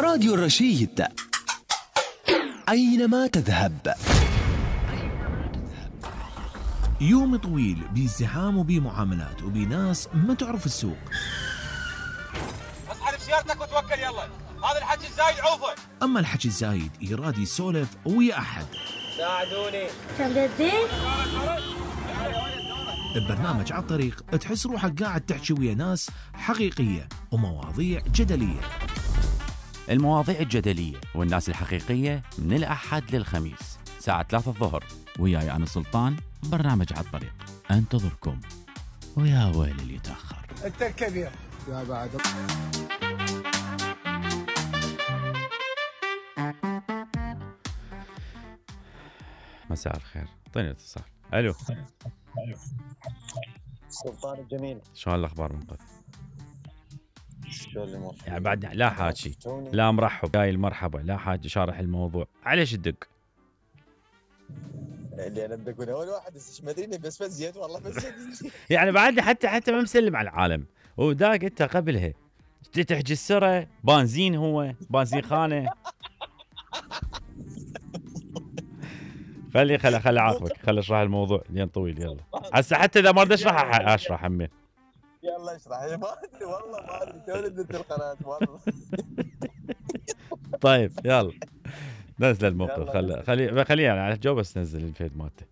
راديو الرشيد أينما تذهب. يوم طويل بازدحام وبمعاملات وبناس ما تعرف السوق. اسحب سيارتك وتوكل يلا، هذا الحكي الزايد عوفه. أما الحكي الزايد يراد يسولف ويا أحد. ساعدوني. كم جدين؟ ببرنامج على الطريق تحس روحك قاعد تحكي ويا ناس حقيقية ومواضيع جدلية. المواضيع الجدلية والناس الحقيقية من الأحد للخميس ساعة 3 الظهر، وياي أنا سلطان. برنامج على الطريق انتظركم، ويا ويل اللي يتأخر. انت الكبير يا بعد. مساء الخير، اعطيني اتصال. الو سلطان الجميل، شلون الاخبار منقذ؟ شلون الامور؟ يعني بعد لا حاكي لا مرحب جاي المرحبا لا حاجه شارح الموضوع. عليش الدق؟ اللي انا بدك اول واحد ما ادري بس زيت والله بس يعني بعد حتى ما مسلم على العالم. وداق انت قبلها تحكي السره بنزين، هو بنزين خانه. خلي عاقبك، خلي اشرح الموضوع لين طويل. يلا هسه حتى اذا ما اريد اشرح همين. يلا اشرح. ما ادري والله ما ادري تو نزلت القناه والله. طيب يلا نزل الموقف. خليه يعني على الجو بس نزل الفيد مالته.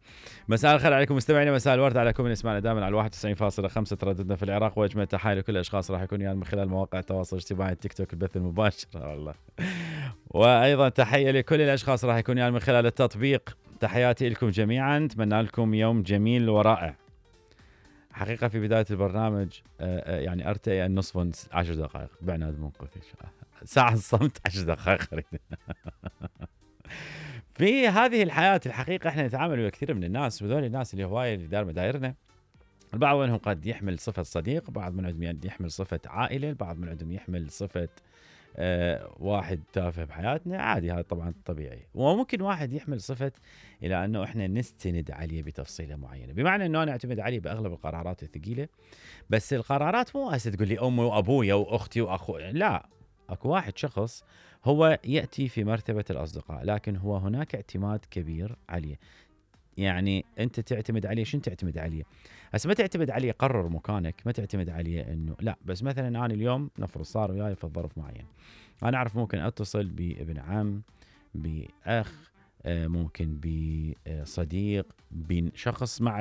مساء الخير عليكم مستمعينا، مساء الورد عليكم من يسمعنا دائما على 91.5 ترددنا في العراق، واجمل تحيه لكل الاشخاص راح يكون يعني من خلال مواقع التواصل الاجتماعي التيك توك البث المباشر والله. وايضا تحيه لكل الاشخاص راح يكون يعني من خلال التطبيق. تحياتي لكم جميعا، اتمنى لكم يوم جميل ورائع. حقيقه في بدايه البرنامج يعني ارتئي النصف 10 دقائق بعناد منقذ ساعه الصمت 10 دقائق. في هذه الحياة الحقيقة احنا نتعامل مع كثير من الناس، وذول الناس اللي هواية اللي دار مدايرنا. البعض منهم قد يحمل صفة صديق، بعض من عندهم يحمل صفة عائلة، البعض من عندهم يحمل صفة واحد تافه بحياتنا، عادي هذا طبعا طبيعي. وممكن واحد يحمل صفة إلى أنه احنا نستند عليه بتفصيلة معينة، بمعنى أنه أنا أعتمد عليه بأغلب القرارات الثقيلة. بس القرارات مو هسه تقول لي أمي وأبويا وأختي وأخوي، لا، أكو واحد شخص هو يأتي في مرتبة الأصدقاء، لكن هو هناك اعتماد كبير عليه. يعني أنت تعتمد عليه، شنو تعتمد عليه؟ هسه ما تعتمد عليه قرر مكانك، ما تعتمد عليه إنه لا، بس مثلا أنا اليوم نفرض صار وياي في ظرف معين، أنا أعرف ممكن أتصل بابن عم، بأخ، ممكن بصديق، بشخص مع